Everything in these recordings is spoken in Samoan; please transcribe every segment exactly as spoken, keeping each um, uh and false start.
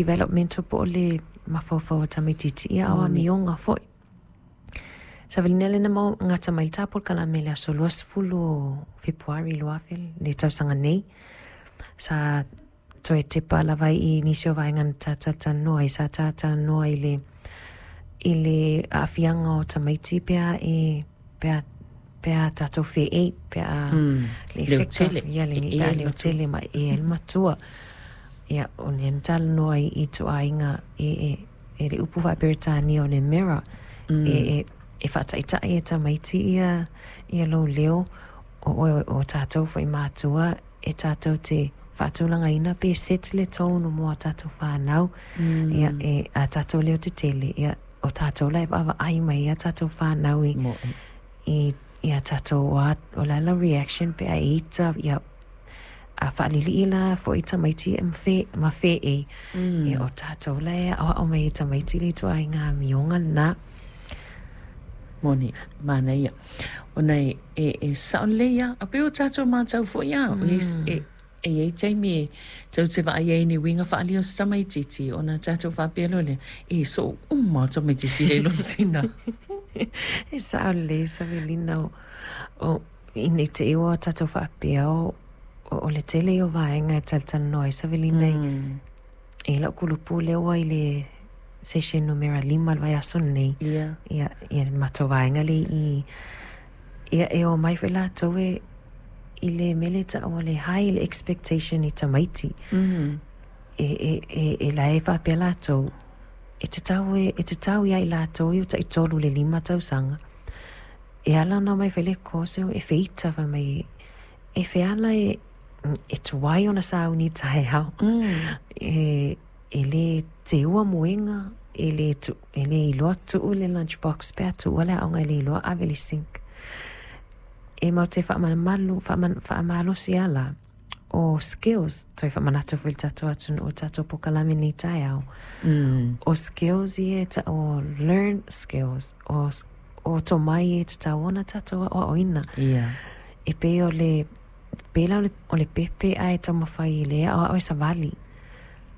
Developmental po o le mafaufau o tamaitiiti, ia a o amioga foi. Savalina lea na gata mai le ta polokalame i le aso luasefulu o Fepuari lua afe le tausaga nei. Sa toe tepa lava ai i nisi o vaega na ta talatalanoa ai. Sa talatalanoa i le i le aafiaga o tamaiti pe a e pe a pe a tatou feei pe a le effect of ia le pe a leotele ma e ai le matua. Ia, o lea na talanoa ai i ituaiga e e e le upu faa-Peretania o le mirror e e e faataitai e tamaiti ia ia lou leo o oe o tatou foi matua e tatou te faatulagaina pe set le tone mo a tatou fanau. Ia, e a tatou leo tetele, ia o tatou la e vaavaai mai ai a tatou fanau i i ia tatou o o le a la reaction pe a e ita, ia a faalilii la foi tamaiti e ma ma feei, ia o tatou la e aoao mai e tamaiti le ituaiga amioga lena. Moni, manaia. Ona e, e, e sao lelei lava. A pei o tatou matau foi lava, e, e i ai taimi e tou te vaai ai i ni uiga faaalia o se tamaitiiti, ona tatou faapea loa lea, e soo uma o tamaitiiti e lona tina. E sao lelei Savelina o, o ina i te i ua tatou faapea o, o, o le tele ia o vaega e talatalanoa ai Savelina i, i lau kulupu lea ua i le session numera lima le vaiaso lenei. Ia. Ia, ia le matou vaega lea i, ia e o mai foi latou e i le mea lea e tau o le high le expectation i tamaiti. Mm. E, e, e, e la e faapea latou, e tatau e, e tatau ia i latou i o taitolu le lima tausaga. E ala ona omai e fai le course e feita fai mai e feala e, e tuai ona sauni taeao. Mm. E, e le teua moega, e le, tu, e le iloa tuu le lunch box pe a tuua le aoga e le iloa ave i le sink. E matou te faamalumalu, faamalosi ala o skills, toe faamanatu foi i le tatou atunuu o tatou polokalame nei taeao. Mm. O skills ia e tau o learn skills, o, o tomai e tatau ona tatou aoaoina. Ia. E pei o le, pei la o le, o le pepe ae taumafai i le aoao e savali.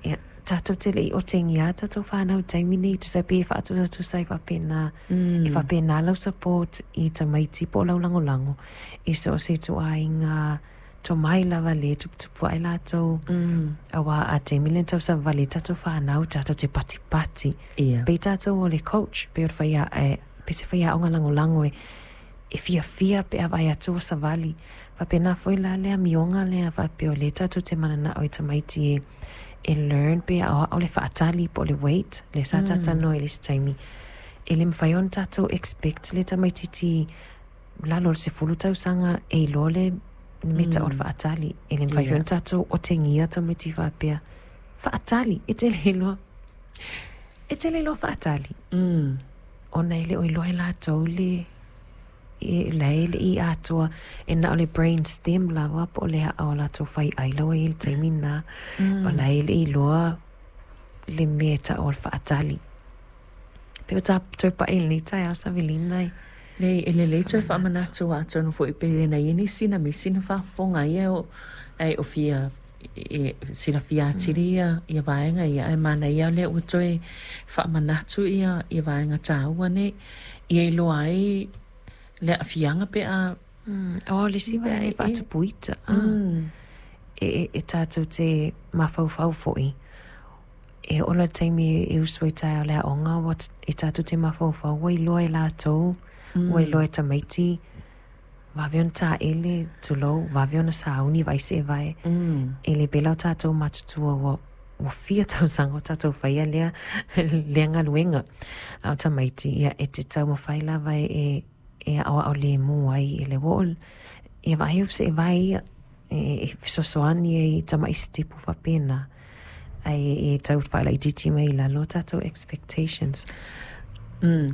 Ia, tatou te le i otegia tatou fanau i taimi nei, tusa pe e faatusatusa ai faapena, Mm. e faapena lau support i tamaiti po o lau lagolago. I so o se ituaiga tomai lava le tuputupu ai latou. Mm. Auā a taimi lea na tausavali tatou fanau, tatou te patipati. Ia. Pei tatou o le coach, pei o le faia, e, pe se faiaoga lagolago e, e fiafia pe a vaai atu o savali. Faapena foi la le amioga lea faapea o lea tatou te mananao i tamaiti e, e learn pe aoao le faatali po o le wait, le sa talatalanoa i le isi taimi. E le mafai ona tatou expect le tamaitiiti lalo o le sefulu tausaga e iloa le mea tau o le faatali. E le mafai foi ona tatou otegia tamaiti faapea. Faatali, e te le iloa. E te le iloa faatali. Mm. Ona e le o iloa e latou le e la e le i atoa e na o le brain stem lava po o le aa o latou fai ai laua i le taimi na. Mm. O la e le iloa le mea tau o le faatali. Pe o ta toe pae lenei taeao Savelina e. Lei, e lelei toe faamanatu atonu foi pe na ia nisi na misi na faafofoga ia o ai o fia e silafia atili ia ia vaega ia ae manaia lea ua toe faamanatu ia ia vaega taua nei ia iloa ai le aafiaga pe a Mm. O le isi pe a vaega e e e faatupuita. Ah. mm. E, e, e tatou te mafaufau foi. E ola le taimi e usu ai taeao le aoga ua e tatou te mafaufau ua iloa e latou, ua iloa e tamaiti, vave ona taele, tulou, vave ona sauni vaai se e vae. Mm. E le pela o tatou matutua ua, ua fia tausaga o tatou faia lea, lea galuega. A o tamaiti, ia e te taumafai lava e, e, e aoao lemu ai e le ua o, ia vaai au se e vae ia, e, e fesoasoani ai i tama'i sitepu faapena. Ae e tau faalaitiiti mai i lalo tatou expectations. Mm.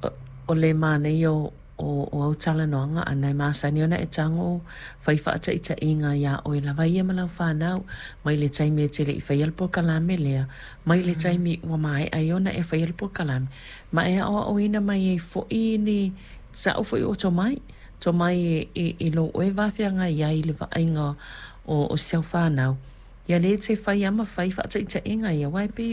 O, o le manaia o o, o au talanoaga ana e masani ona e tago fai faataitaiga iā oe lava ia ma lau fanau mai le taimi e te leʻi faia le polokalame lea mai le taimi ua maea ai ona e faia le polokalame ma e aoaoina mai ai foʻi ni sa'u foi o tomai tomai e, e, e lou oe vafeagai ai i le vaaiga o, o si au fanau ia lē te fai ama fai faataitaiga ia uae pei